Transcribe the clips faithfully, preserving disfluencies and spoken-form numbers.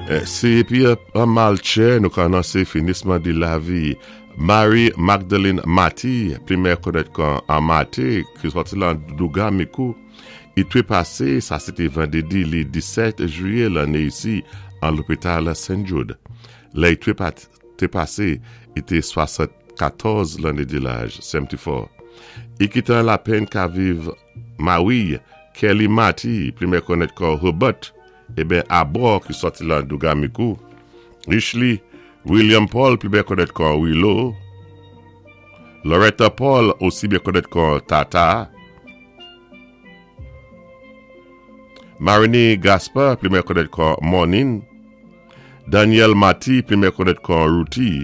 Sé épi an mal tchè nou ka anonsé finisman di lavi Marie Magdalene Mati, pli meyè konnèt kon Amate, ki sòti lan Douga Mikou. I twé pasé, sa sé té vandédi li disèt jwiyé lanné isi an lopital Saint Jude. Lè i twé té pasé, i té swasannkatòz lanné di laj, seventy-four. I kité an lapenn ka viv mari Kelly Mati, pli meyè konnèt kon Herbert, eben Abor ki sòti lan Douga Mikou. Richly William Paul, pli byen konnèt kon Willow. Loretta Paul, osi byen konnèt kon Tata. Marini Gaspar, pli byen konnèt kon Monin. Daniel Mati, pli byen konnèt kon Ruti.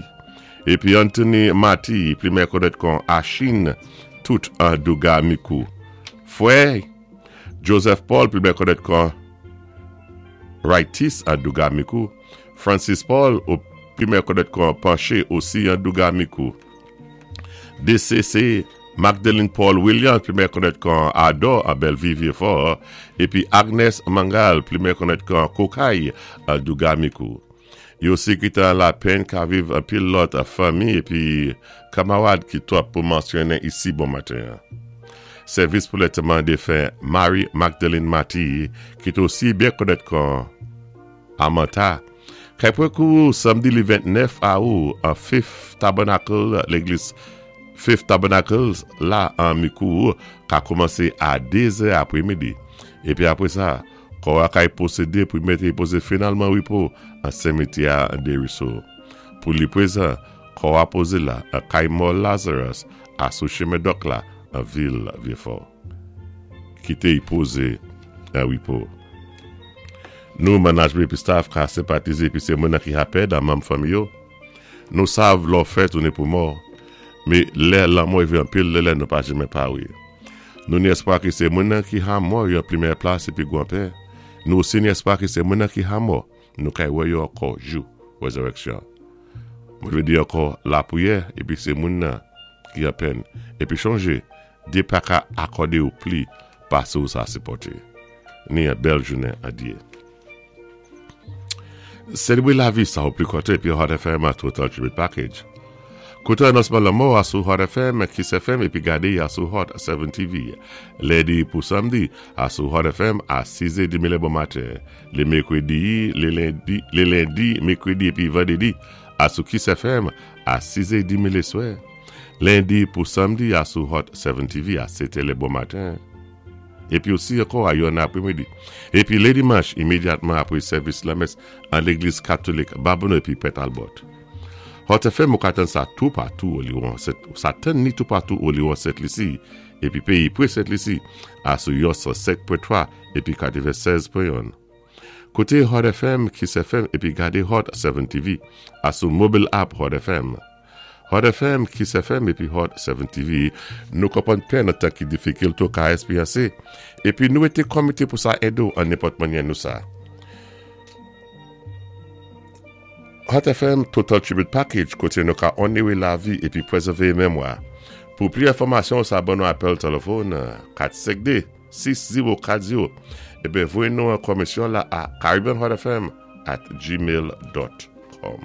Épi Anthony Mati, pli byen konnèt kon Achin, tout an Douga Mikou. Fwè Joseph Paul, pli byen konnèt kon Raitis an Douga Mikou. Francis Paul, ou pli byen konnèt kon Panché, osi an Douga Mikou. D C C Magdalene Paul Williams, pli byen konnèt kon Ador an Bellevue Vieux-Fort. Épi Agnes Mangal, pli byen konnèt kon Kokay an Douga Mikou. Yo osi kité an lapenn ka viv anpil lòt fanmi épi kanmarad ki twòp pou mansyonnen isi bon maten. Sèvis pou lantèman défen Marie Magdalene Mati, ki té osi byen konnèt kon Amanta. Kay pwan kou samdi li ventnèf awou an Faith Tabernacle, légliz Faith Tabernacle la an Mikou ka koumansé a dé zè apwé midi. Épi apwé sa, kò a kay pwosédé pou mété pozé finalman wipo an simityè an Desruisseaux. Pou li pwézan, kò a pozé la an kay mò Lazarus a sou chimen Dòk la an vil Vieux-Fort. Kité y pozé an wipo. Nou management épi staff ka senpatizé épi sé moun ki ha pèd an manm fanmi yo. Nou sav lò fè tounen pou mò, mé lè lanmò rivé anpil lè lè nou pa janmen pawé. Nou ni espwa ki sé moun ki ha mò yo pli meyè plas épi gwan pè. Nou osi ni espwa ki sé moun ki ha mò, nou kay wè yo ankò jou wézirèksyon. Mwen vlé di ankò lapwiyè épi sé moun ki an pèn. Épi chonjé, Dyé pa ka akòdé ou pli pasé ou sa sipòté. Ni yon bèl jounen an Dyé. Sélébwé lavi sa ou pli kontan épi Hot F M a Total Tribute Package. Kouté anonsman lanmò a sou Hot F M, Kiss F M épi gadé a sou Hot sept T V. Lendi pou samdi a sou Hot F M a sis è trant bon maten. Lé mèkwédi, lé lendi, lé lendi, mèkwédi épi vandédi a sou Kiss F M a sis è trant lé swè. Lendi pou samdi a sou Hot sept T V a sèt è bon maten. Épi osi ankò a yonn apwémidi. Épi lé dimanch, imédyatman apwé sèvis lamès an légliz katolik Babonneau épi Pè Talbot. Hot F M ou ka tann sa tou patou Oliwon, sa tann ni tou patou Oliwon Sent Lisi épi péyi pwé Sent Lisi a sou yon san sèt pwen twa épi katèvensèz pwen youn. Kouté Hot F M, Kiss F M épi gadé Hot sept T V a sou mobile app Hot F M. Hot F M, Kiss F M épi Hot sept T V, nou konpwann pèn an tan ki difikil tou ka ésperyansé. Épi nou été komité pou sa édé ou an nenpòt mannyè nou sa. Hot F M Total Tribute Package koté nou ka onoré lavi épi pwézèvé mémwa. Pou pli enfòmasyon, sa ban nou apèl téléfòn kat senk de sis zewo kat zewo ébyen voyé nou an komisyon la a caribbeanhotfm at gmail dot com.